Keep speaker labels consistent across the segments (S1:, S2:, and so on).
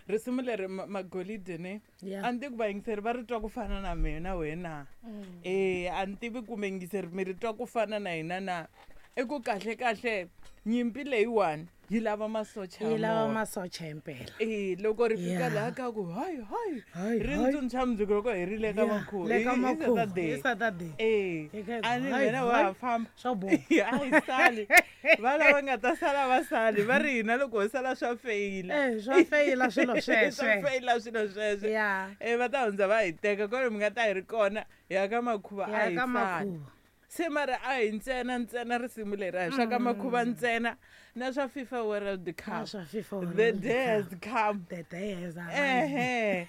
S1: Risimu leri magolide ne a ni tivi ku vayingiseri va ri twa ku fana na mina wena. A ni tivi ku miyingiseri mi ri twa ku fana na hina na. I ku kahle kahle nyimpi leyiwani yi lava masocha
S2: yi lava masocha himpela.
S1: E loko ri fika laha ka ku hayi hayi ri ntsundzuxa mundzuku loko hi ri le ka makhuva
S2: le ka makhuva hi Saturday.
S1: E a ni wena wa ha famba
S2: swa boha
S1: a hi sali va lava nga ta sala va sali va ri hina loko ho sala swa feyila.
S2: Swa feyila swilo sweswe.
S1: Swa feyila swilo sweswe. E va ta hundza va hi teka kwale mi nga ta hi ri kona hi ya ka makhuva a hi sali. Se mara a hi ntsena ntsena risimu leri a hi swa ka makhuva ntsena na swa FIFA World Cup.
S2: Swa FIFA World
S1: The day has come.
S2: The day has arrived.
S1: Ehe.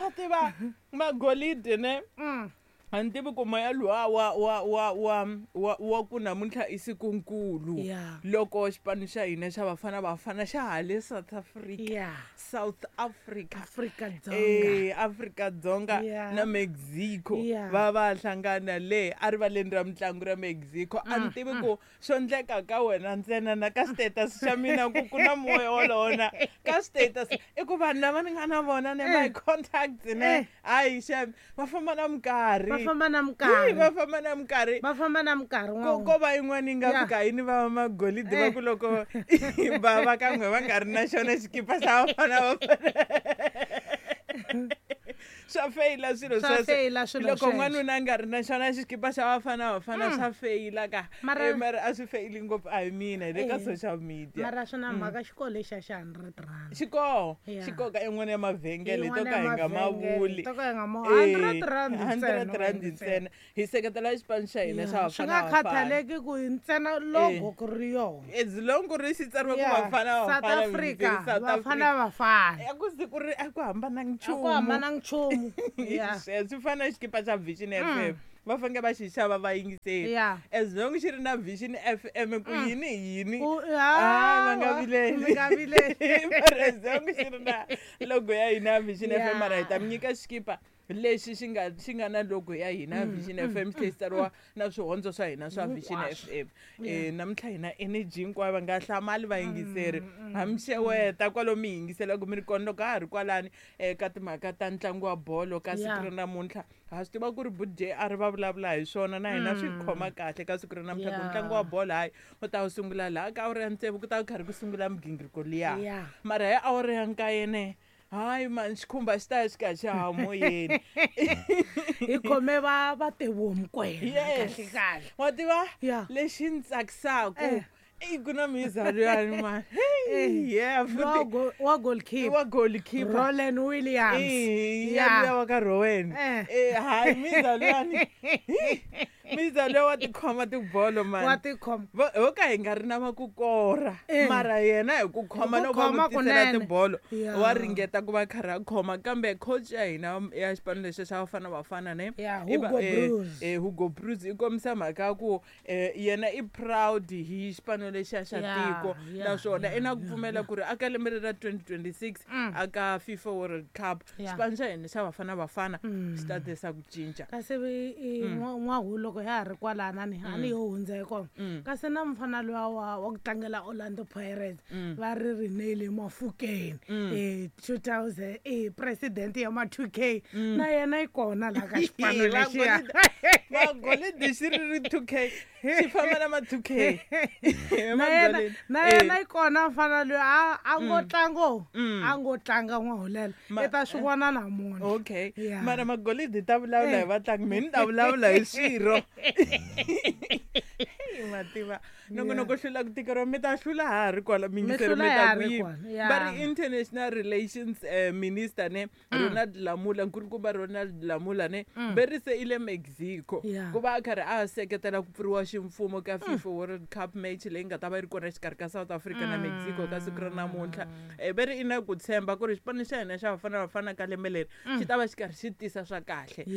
S1: Wa tiva magolide ne. A ni tivi ku moya luwa wa wa wa wa wa wa ku namuntlha i sikunkulu loko xipano xa hina xa Bafana Bafana xa ha le South Africa. South Africa.
S2: Afrika Dzonga.
S1: Afrika Dzonga na Mexico va va hlangana le a rivaleni ra mitlangu ra Mexico. A ni tivi ku swo endleka ka wena ntsena na ka status xa mina ku ku na moya wolowo na ka status i ku vanhu lava ni nga na vona ne my contacts ne hayi xem va famba na minkarhi.
S2: Va famba na minkarhi.
S1: Va famba na minkarhi.
S2: Va famba na minkarhi
S1: ko va yin'wana yi nga fika yini va magolide va ku loko va va ka n'we va nga ri na xona xikipa xa Bafana Bafana. Swa feyila swilo
S2: sweswo.
S1: Loko n'wanuna a nga ri na xona xikipa xa Bafana Bafana swa feyila ka. Mara a swi feyili ngopfu a hi mina hi le ka social media.
S2: Mara swi na mhaka xikolo lexiya xa 100 rand.
S1: Xikolo xikolo ka yin'wana ya mavhengele to ka hi nga mavuli.
S2: To ka hi nga ma 100 rand
S1: 100 rand ntsena. Hi seketela xipano xa hina xa Bafana.
S2: Swi nga khathaleki ku ntsena logo ku ri yona.
S1: As long ku ri xi tsariwe ku Bafana Bafana.
S2: South Africa Bafana Bafana.
S1: A ku siku ri a ku hambananga nchumu.
S2: A ku hambananga nchumu.
S1: Swi fana na xikipa xa Vision FM. Va fanele va xi xava va yingiseli. As long xi ri na Vision FM ku yini yini. Va nga vileli. Mara as long xi ri na logo ya hina Vision FM mara hi ta mi nyika xikipa lexi xi nga na logo ya hina Vision FM xi tsariwa na swihondzo swa hina swa Vision FM. Namuntlha hina energy hinkwayo va nga hlamali vayingiseri. Hamixeweta kwalomu mi yingiselaka mi ri kona loko ha ha ri kwalani ka timhaka ta ntlangu wa bolo ka siku ra namuntlha. Ha swi tiva ku ri Buti JR va vulavula hi swona na hina swi khoma kahle ka siku ra namuntlha ku ntlangu wa bolo hayi u ta wu sungula laha ka awara ya 6 ku ta ku karhi ku sungula migingiriko liya. Mara hi awara ya 9 ne hayi man xikhumba xi ta xi ka xa ha moyeni.
S2: Hi khome va Teboho Mokoena kahle kahle.
S1: Wa tiva lexi ni tsakisaka i ku na mizalo yani man. Yeah
S2: futhi wa goalkeeper.
S1: Wa goalkeeper.
S2: Roland Williams.
S1: Yeah wa ka Rowan. Hayi mizalo yani. Mizalo wa tikhoma tibolo man.
S2: Wa tikhoma.
S1: Ho ka hi nga ri na makukora. Mara yena hi ku khoma loko va n'wi tisela tibolo wa ringeta ku va karhi a khoma kambe coach ya hina ya xipano lexi xa Bafana Bafana ne.
S2: Hugo Broos.
S1: Hugo Broos i kombisa mhaka ya ku yena i proud hi xipano lexiya xa tiko naswona i na ku pfumela ku ri aka lembe ra 2026 aka FIFA World Cup xipano xa hina xa Bafana Bafana xi ta tisa ku cinca.
S2: Kasi n'wahu loko ya ha ri kwalana ni a ni yo hundza hi kona. Kasi na mufana luya wa ku tlangela Orlando Pirates va ri Rinele Mafukeni 2000 president ya ma 2K na yena yi kona laha ka xipano lexiya.
S1: Magolide xi ri 2K xi famba na ma 2K.
S2: Na yena yi kona mufana luya a ngo tlango a ngo tlanga n'wahulela i ta swi vona namuntlha.
S1: Okay. Mara magolide ta vulavula hi vatlangi mina ni ta vulavula hi swirho. Mativa nongonoko hlula ku tikeriwa mi ta hlula ha ri kwala mingiseri mi ta ku yini. Va ri International Relations Minister ne Ronald Lamola nkulukumba Ronald Lamola ne ve ri se i le Mexico ku va a karhi a seketela ku pfuriwa ximfumo ka FIFA World Cup match leyi nga ta va yi ri kona exikarhi ka South Africa na Mexico ka siku ra namuntlha. Ve ri i na ku tshemba ku ri xipano xa hina xa Bafana Bafana ka lembe leri xi ta va xi karhi xi tisa swa kahle.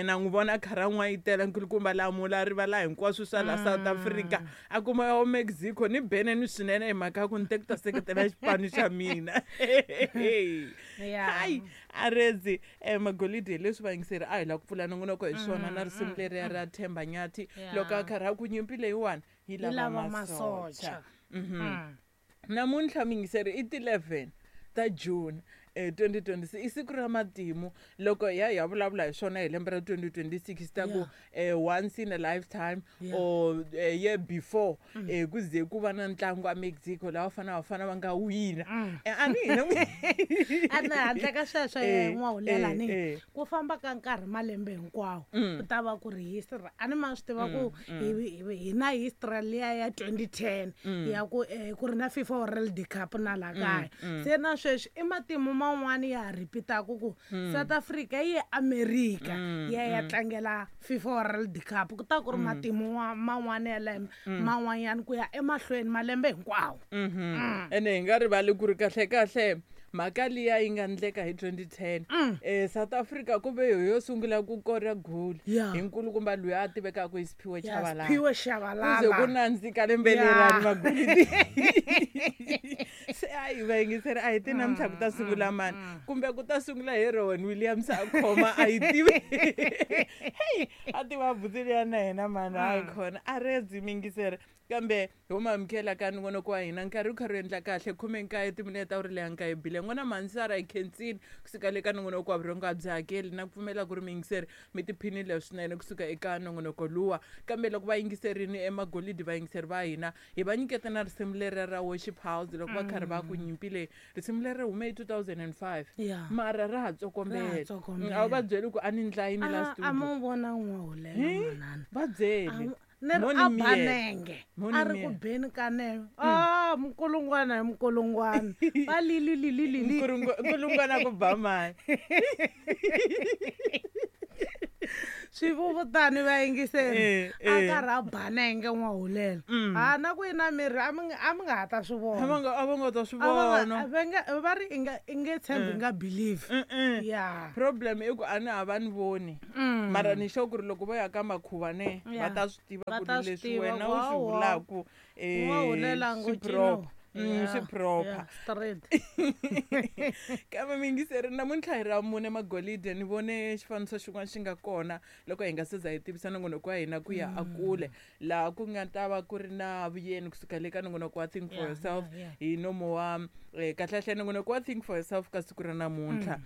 S1: Na n'wi vona karhi a n'wayitela nkulukumba Lamola a rivala hinkwaswo swa la South Africa a kuma ya Mexico ni beneni swinene hi mhaka ya ku ni te ku ta seketela xipano xa mina. Hayi arezi magolide leswi vayingiseri a hi lava ku pfula nongonoko hi swona na risimu leriya ra Themba Nyathi loko a karhi a ku nyimpi leyiwani yi lava masocha. Namuntlha miyingiseri i ti 11 ta June 2026 i siku ra matimu loko hi ya hi ya vulavula hi swona hi lembe ra 2026 ta ku once in a lifetime or year before ku ze ku va na ntlangu a Mexico laha Bafana Bafana va nga wina. A ni hina
S2: Ene handle ka sweswo n'wahulela ni ku famba ka nkarhi malembe hinkwawo ku ta va ku ri history. A ni ma swi tiva ku hi na history liya ya 2010 ya ku ku ri na FIFA World Cup na laha kaya. Se na sweswi i matimu man'wani ya ha repeat-aku ku South Africa yi ye America yi ya ya tlangela FIFA World Cup. Ku ta ku ri matimu man'wani ya lembe man'wanyani ku ya emahlweni malembe hinkwawo.
S1: Ene hi nga rivali ku ri kahle kahle mhaka liya yi nga endleka hi 2010 South Africa ku ve yo sungula ku kora goal hi nkulukumba loyi a tivekaka hi Siphiwe Tshabalala.
S2: Siphiwe Tshabalala.
S1: Ku ze ku nandzika lembe lerani magolidi. Se a hi vayingiseri a hi ti namuntlha ku ta sungula mani kumbe ku ta sungula hi Rowan Williams a khoma a yi tivi. Hey, a tiva buti liya na yena mani a yi khona a redzi miyingiseri. Kambe ho ma amukela ka nongonoko wa hina nkarhi wu karhi wu endla kahle 19 timinete ta uri leya nkaye bile n'wana Mansara hi khensini kusuka le ka nongonoko wa vurhongo a byi hakeli na ku pfumela ku ri miyingiseri mi tiphinile swinene kusuka eka nongonoko luwa. Kambe loko va yingiserini emagolidi vayingiseri va hina hi va nyiketa na risimu leri ra Worship House loko va karhi va ku nyimpi leyi risimu leri hume hi 2005 mara ra ha tsokombela. A wu va byeli ku a ni ndlayini la studio.
S2: A mo vona n'wahulela manana.
S1: Va byeli.
S2: Ni ri a banenge a ri ku beni ka nenge a mukulungwana hi mukulungwana va lili lili lili
S1: nkulungwana ku ba mani
S2: swivuvutani va yingiseri a karhi a banenge n'wahulela ha na ku yi na miri a mi nga ha ta swi vona
S1: a va nga ta swi vona
S2: va ri i nge tshembi nga believe ya
S1: problem i ku a ni a va ni voni mara ni sure ku ri loko vo ya ka makhuva ne va ta swi tiva ku ri leswi wena u swi vulaku swi proper. Swi proper. Kambe miyingiseri namuntlha hi ra mune magolide ni vone xifaniso xin'wana xi nga kona loko hi nga se za hi tivisa nongonoko wa hina ku ya a kule laha ku nga ta va ku ri na vuyeni kusuka le ka nongonoko wa Think for Yourself hi nomo wa kahlekahle nongonoko wa Think for Yourself ka siku ra namuntlha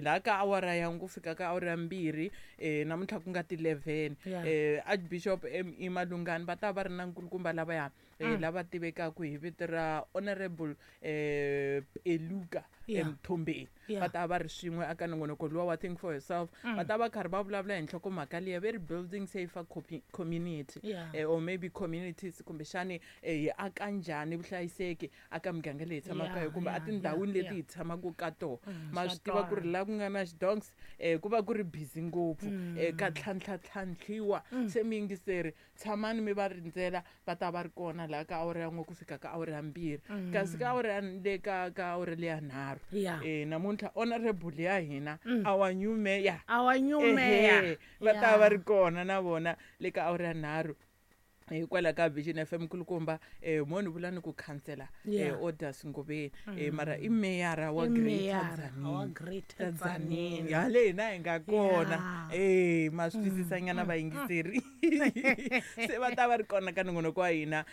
S1: laha ka awara ya ku fika ka awara ya 2 namuntlha ku nga ti 11 Archbishop M.E. Malungani va ta va ri na nkulukumba lavaya lava tivekaka hi vito ra Honorable Peluka Mthombeni va ta va ri swin'we aka nongonoko luwa wa Think for Yourself va ta va karhi va vulavula hi nhlokomhaka liya ve ri building safer community or maybe communities kumbexani hi aka njhani vuhlayiseki aka miganga leyi hi tshamaka kumbe a tindhawini leti hi tshamaka ka tona. Ma swi tiva ku ri laha ku nga na xidonks ku va ku ri busy ngopfu ka tlhantlhatlhantlhiwa. Se miyingiseri tshamani mi va rindzela va ta va ri kona laha ka awara ya 1 ku fika ka awara ya 2 kasi ka awara ya le ka awara leya 3 namuntlha honorable ya hina our new mayor va ta va ri kona na vona le ka awara ya 3 hikwalaho ka Vision FM nkulukumba mo ni vula ni ku khansela Orders Ngobeni mara i meyara wa Greater Tzaneen hale hina hi nga kona ma swi twisisanyana vayingiseri se va ta va ri kona ka nongonoko wa hina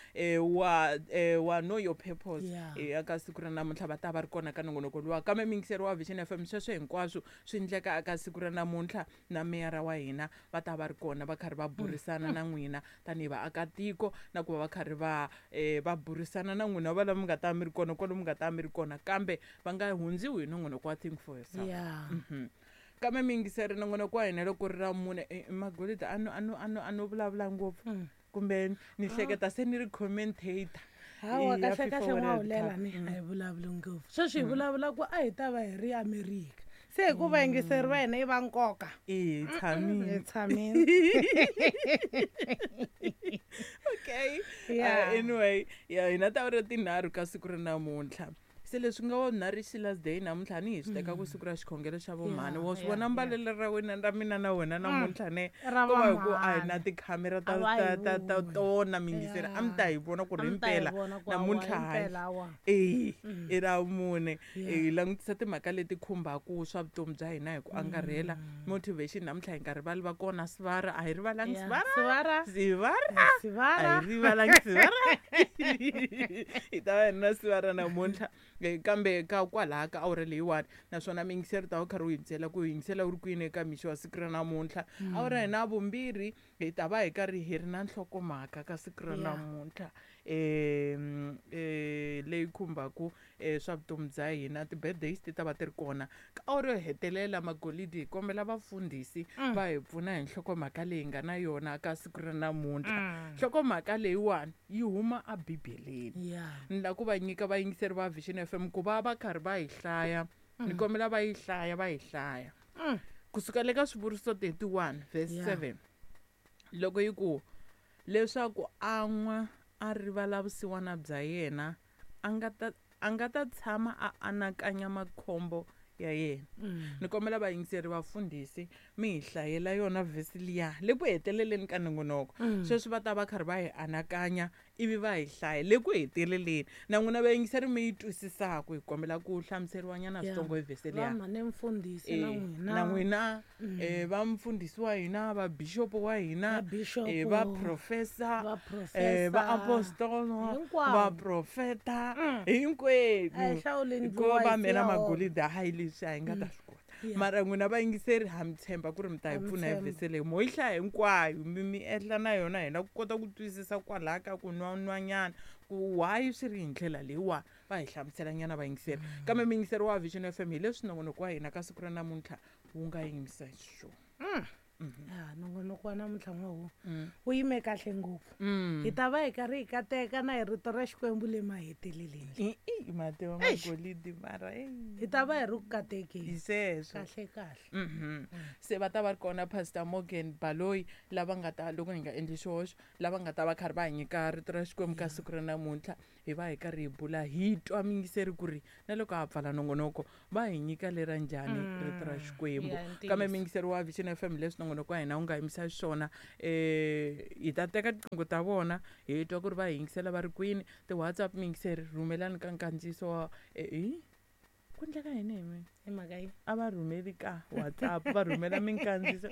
S1: wa Know Your Purpose aka siku ra namuntlha va ta va ri kona ka nongonoko luwa. Kambe miyingiseri wa Vision FM sweswo hinkwaswo swi endleka aka siku ra namuntlha na meyara wa hina va ta va ri kona va karhi va burisana na n'wina tanihi vaakatiko na ku va va karhi va va burisana na n'wina va lava mi nga ta mi ri kona kwalomu nga ta mi ri kona kambe va nga hundziwi hi nongonoko wa Think for Yourself. Kambe miyingiseri nongonoko wa hina loko ri ra mune magolidi a no vulavula ngopfu kumbe ni hleketa se ni ri commentator.
S2: Hawa kahle kahle n'wahulela ni a hi vulavuli ngopfu sweswi hi vulavula ku a hi ta va hi ri America se hikuva yingiseri va hina i va nkoka.
S1: Hi tshamile. Okay. Anyway, hina ta ri tinharhu ka siku ra namuntlha. Se leswi nga wa nharhu Sheila Day namuntlha ni hi swi teka ku siku ra xikhongelo xa vomhani. Wa swi vona mbalelo ra wena ra mina na wena namuntlha ne ko va hi ku a hi na tikhamera ta tona miyingiseri a mi ta hi vona ku ri himpela namuntlha hayi i ra mune hi langutisa timhaka leti khumbaka swa vutomi bya hina hi ku angarhela motivation namuntlha hi nga rivali va kona Sivara a hi rivalangi Sivara a hi rivalangi Sivara hi ta va hi ri na siva ra namuntlha kambe ka kwalaha ka awara leyiwani, naswona miyingiseri ta wu karhi wu yingisela ku yingisela wu ri kwini eka mixo wa siku ra namuntlha. Awara hina vumbirhi hi ta va hi karhi hi ri na nhlokomhaka ka siku ra namuntlha leyi khumbaku swa vutomi bya hina. Ti-birthdays ti ta va ti ri kona ka awara yo hetelela. Magolidi, hi kombela vafundhisi va hi pfuna hi nhlokomhaka leyi nga na yona ka siku ra namuntlha. Nhlokomhaka leyiwani yi huma abibeleni. Ni la ku va nyika vayingiseri va Vision FM ku va va karhi va yi hlaya. Ni kombela va yi hlaya, va yi hlaya kusuka le ka Swivuriso 31 verse 7, loko yi ku leswaku a nwa a rivala vusiwana bya yena, a nga ta tshama a anakanya makhombo ya yena. Ni kombela vayingiseri, vafundhisi mi hi hlayela yona vhesi liya le ku heteleleni ka nongonoko. Sweswi va ta va karhi va hi anakanya ivi va hi hlaya le ku heteleleni, na n'wina vayingiseri mi yi twisisaku. Hi kombela ku hlamuseriwa nyana switsongo hi vhesi liya.
S2: Vamhane mfundhisi na n'wina.
S1: Na n'wina va mfundhisi wa hina, va bishopo wa hina,
S2: Va bishop,
S1: va professor,
S2: va professor,
S1: va apostolo,
S2: hinkwavo.
S1: Va profeta hinkwenu.
S2: A hi hlawuleni
S1: Ko va
S2: voice
S1: mina
S2: ya vona.
S1: Magolide, hayi, leswi a hi nga ta swi kota. Mara n'wina vayingiseri ha mi tshemba ku ri mi ta hi
S2: Ha mi
S1: pfuna hi
S2: tshemba.
S1: vhesi leyi. Mo yi hlaya hinkwayo, mi ehla na yona, hina ku kota ku twisisa kwalaha ka ku nwanwanyana ku why swi ri hi ndlela leyiwani. Va hi hlamusela nyana vayingiseri. Kambe miyingiseri wa Vision FM, hi leswi nongonoko wa hina ka siku ra namuntlha wu nga yimisa xiswona.
S2: Ya, nongonoko wa namuntlha n'wahu wu yime kahle ngopfu. Hi ta va hi karhi hi kateka na hi rito ra Xikwembu le maheteleleni.
S1: I mativa magolidi mara
S2: Hi ta va hi ri ku katekeni.
S1: Hi sweswo.
S2: Kahle kahle.
S1: Se va ta va ri kona Pastor Morgan Baloyi, lava nga ta, loko hi nga endli xihoxo, lava nga ta va karhi va hi nyika rito ra Xikwembu ka siku ra namuntlha. Hi va hi karhi hi bula, hi twa miyingiseri ku ri na loko ha pfala nongonoko va hi nyika lera njhani rito ra Xikwembu.
S2: Ya, ntiyiso.
S1: Kambe miyingiseri wa Vision FM, leswi nongonoko wa hina wu nga yimisa xiswona, hi ta teka tiqingho ta vona, hi twa ku ri va hi yingisela va ri kwini. Ti-WhatsApp, miyingiseri, rhumelani ka nkandziyiso wa hi ku endleka yini hi mina?
S2: Hi mhaka yi
S1: A va rhumeli ka WhatsApp, va rhumela minkandziyiso.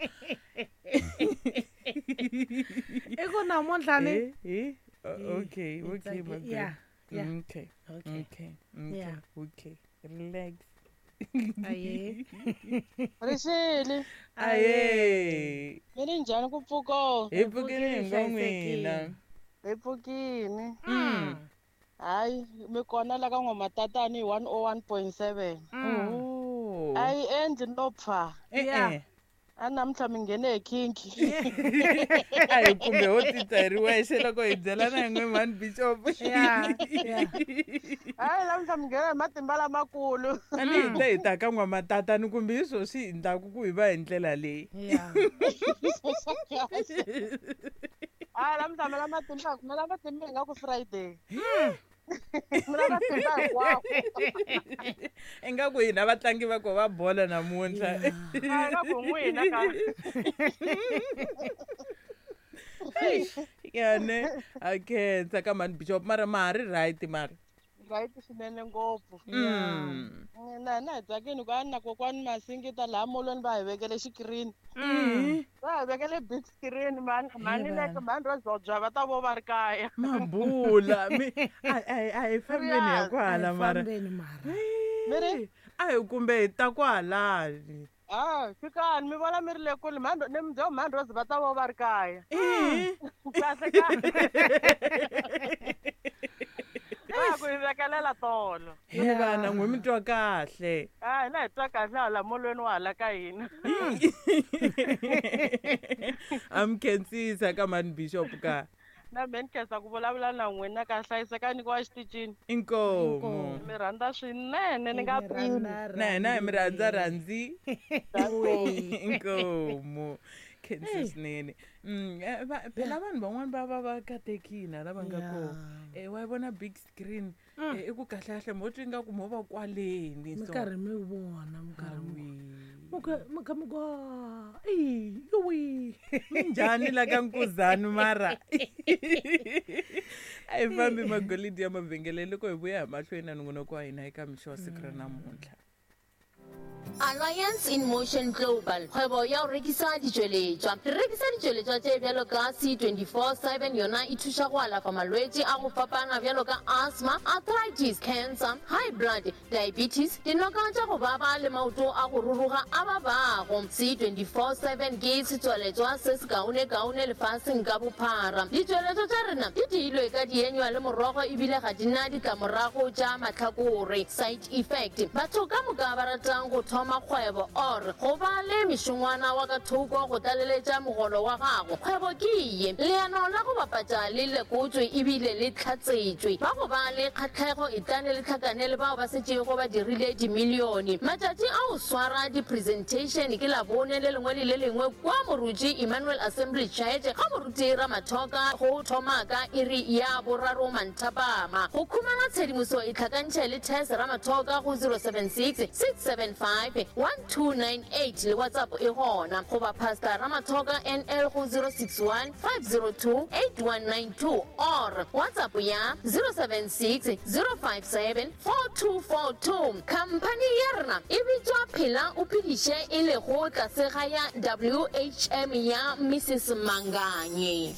S2: I ku namuntlha ni
S1: Eh, okay,
S2: hi
S1: okay.
S2: tsake-
S1: My
S2: yeah.
S1: Okay.
S2: Okay.
S1: Okay okay. Okay, relax.
S2: Aye.
S3: Rixile.
S1: Aye.
S3: Mi ri njhani ku pfuko?
S1: Hi pfukile hi ngo
S2: Hlayisekile.
S1: n'wina.
S3: Hi pfukini. Hayi, mi kona la ka N'wamatatani hi 101.7.
S1: Oh.
S3: A yi endli no pfa.
S1: Eh, eh.
S3: A namuntlha mi nghene hi kinki.
S1: A hi kumbe ho titwa hi ri wexe loko hi byelana hi n'we mhani bishop.
S2: Yeah.
S3: Hayi, namuntlha mi nghene hi matimba lamakulu.
S1: A ni hi te hi ta ka N'wamatatani, kumbe hi swo swi endlaku ku hi va hi ndlela leyi.
S3: Hayi, namuntlha mi la matimba, mi la matimba ingaku Friday. Mi la matimba hinkwawo.
S1: Ingaku hina vatlangi va ko va bola namuntlha.
S3: Hayi, ingaku n'wina ka.
S1: Yane a khensa ka mhani bishop, mara ma ha ri right mara?
S3: Right swinene ngopfu. Na hina hi tsakini ku a na kokwani Masingita laha molweni va hi vekele xikirini. Va hi vekele big screen mhani mhani leke mhani Rozobya va ta vo va ri kaya.
S1: Mabula mi a hi fambeni ya kwala
S2: A hi
S1: mara.
S2: fambeni mara.
S3: Mi ri?
S1: A hi kumbe hi ta kwalani.
S3: Ah, fikani mi vona mi ri le kule mhani ni mudyo mhani Rose va ta vo va ri kaya. Kahle kahle. Va ku hi vekelela tolo.
S1: He vana, n'we mi twa kahle?
S3: Ah, hina hi twa kahle hala molweni wa hala ka hina.
S1: A mi khensisa ka mhani bishop ka.
S3: Na me ni khensa ku vulavula na n'wina ka hlayiseka nyikiwa xitichini.
S1: Inkomu.
S3: Mi rhandza swinene ni nga pimi.
S1: Na hina hi mi rhandza rhandzi. Inkomu, khensa swinene. Phela vanhu van'wani va va va katekile lava nga kona. Wa yi vona big screen, i ku kahle kahle mo twa ingaku mo va kwaleni.
S2: Mi
S1: So
S2: karhi mi vona, mi karhi mi
S1: Awi.
S2: mi kha mi ku "Ah, i yowi."
S1: Minjhani la ka Nkuzani mara? A hi fambi, magolidi ya mavhengele, loko hi vuya hi mahlweni na nongonoko wa hina eka mixo wa siku ra namuntlha.
S4: Alliance in Motion Global, kgwebo ya go rekisa ditšweletšwa. Re rekisa ditšweletšwa tše bjalo ka C24/7, yona e thuša go alafa malwetši a go fapana bjalo ka asthma, arthritis, cancer, high blood, diabetes, dinoka tša go baba le maoto a go ruruga a babago. C24/7 ke setswaletšwa se sekaonekaone lefaseng ka bophara. Ditšweletšwa tša rena di diilwe ka dienywa le morogo ebile ga di na ditlamorago tša mahlakore, side effect. Batho ka moka ba ratang go thoma kgwebo or go ba le mešongwana wa ka thoko go tlaleletša mogolo wa gago, kgwebo ke ye. Leano la go bapatša le lekotšwe ebile le hlatsetšwe. Ba go ba le kgahlego etlane le hlakane le bao ba setšego ba dirile dimilione. Matšatši a go swara di-presentation ke Labone le lengwe le le lengwe kua Moruti Emmanuel Assembly Church ga Moruti Ramathoka go thoma ka iri ya boraro manthapama. Go khumana tshedimoso itlhakantšhe le Tess Ramathoka go 076 675 1298 le WhatsApp e gona, goba Pastor Ramathoka NL go 061 502 8192 or WhatsApp ya 076 057 4242. Khamphani ya rena e bitšwa Phela o Phediše e lego tlase ga ya WHM ya Mrs Manganye.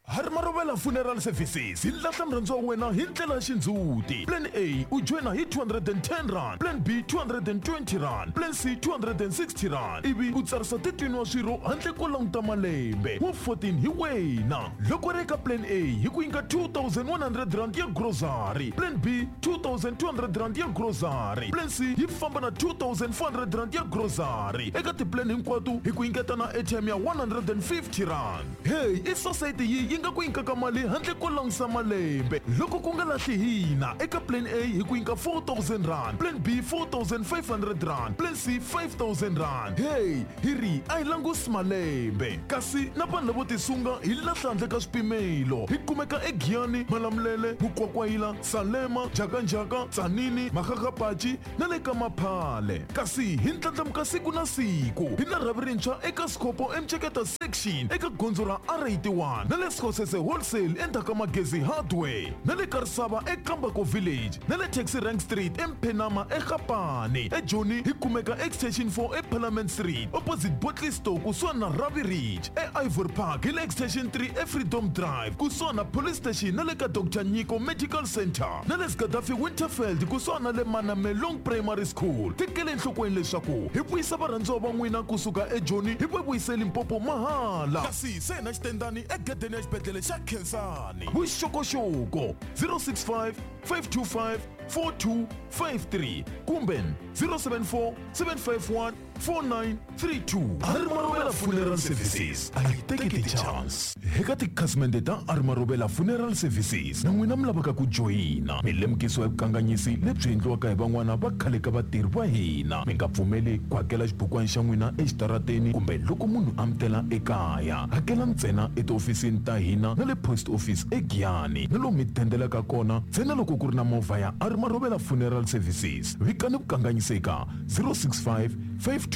S5: Harimarobela Funeral Services yi lahla murhandziwa wa wena hi ndlela ya xindzhuti. Plan A u joyina hi R210, Plan B R220, Plan C R260 ivi u tsarisa 13 wa swirho handle ko languta malembe. Wa 14 hi wena. Loko ri eka Plan A hi ku nyika R2100 ya grocery, Plan B R2200 ya grocery, Plan C yi famba na R2400 ya grocery. Eka tiplan hinkwato hi ku nyiketa na airtime ya R150. Heyi i sosayiti yi yi nga ku nyikaka mali handle ko langusa malembe loko ku nga lahli hina eka plan A hi ku nyika R4000 plan B R4500 plan C R5000 heyi hi ri a hi langusi malembe kasi na vanhu lavo tisunga hi lahla handle ka swipimelo hi kumeka eGiyani Malamulele Mukwakwayila Salema Njhakanjhaka Tzaneen Makgakgapachi na le ka Maphale. Kasi hi ndlandlamuka siku na siku, hi na rhavi rintshwa eka Sekhopo eMceketa Section eka gondzo ra R81 na le Skhosese Wholesale endzhaku ka Magezi Hardware na le Karisava eKambako Village na le Taxi Rank Street eMphenama eGapane. EJoni hi kumeka Extension 4 eParliament Street opposite Bottle Store kusuhani na Ravi Ridge. EIvory Park hi le Extension 3 eFreedom Drive kusuhani na Police Station na le ka Doctor Nyiko Medical Centre na le Gaddafi Winterveld kusuhani na le Manamelong Primary School. Tekela enhlokweni leswaku hi vuyisa varhandziwa va n'wina kusuka eJoni hi va vuyisa eLimpopo mahala. Kasi se hi na xitendani egedeni ya xibedlhele xa Khensani. Vuxokoxoko 065 525 4253 kumbe 074 751 4932. Arimarovela Funeral Services a yi teki ti-chance. Eka tikhasimende ta Arimarovela Funeral Services na n'wina mi lavaka ku joyina, mi lemukisiwa hi vukanganyisi lebyi endliwaka hi van'wana va khale ka vatirhi va hina. Mi nga pfumeli ku hakela xibukwana xa n'wina exitarateni kumbe loko munhu a mi tela ekaya. Hakela ntsena etihofisini ta hina na le Post Office eGiyani na lomu mi dendelaka kona ntsena loko ku ri na movha ya Arimarovela Funeral Services. Vikani vukanganyisi eka 065 525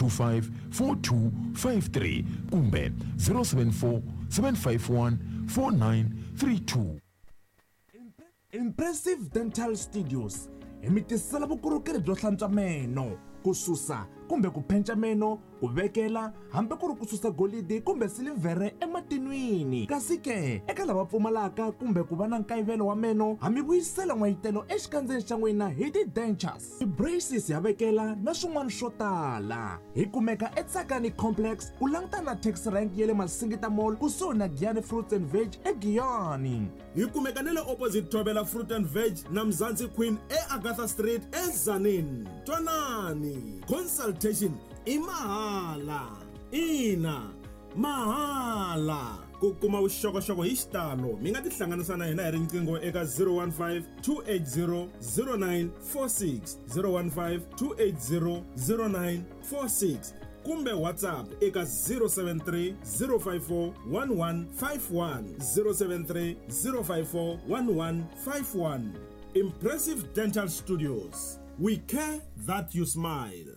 S5: 4253 kumbe 074 751 4932.
S6: Impressive Dental Studios hi mi tisela vukorhokeri byo hlantswa meno, ku susa kumbe ku phenca meno, ku vekela hambi ku ri ku susa golidi kumbe silivhere ematinwini. Kasi ke eka lava pfumalaka kumbe ku va na nkayivelo wa meno, ha mi vuyisela n'wayitelo exikandzeni xa n'wina hi ti-dentures, ti-braces ya vekela na swin'wana swo tala. Hi kumeka eTsakani Complex ku langutana na taxi rank ya le Masingita Mall kusuhi na Giyani Fruits and Veg eGiyani.
S7: Hi kumeka na le opposite Thobela Fruit and Veg na Mzansi Queen eAgatha Street eTzaneen. Twanani, consultation i mahala. Ina, mahala. Ku kuma vuxokoxoko hi xitalo mi nga tihlanganisa na hina hi riqingho eka 015 280 0946, 015 280 0946 kumbe WhatsApp eka 073 054 1151, 073 054 1151. Impressive Dental Studios, we care that you smile.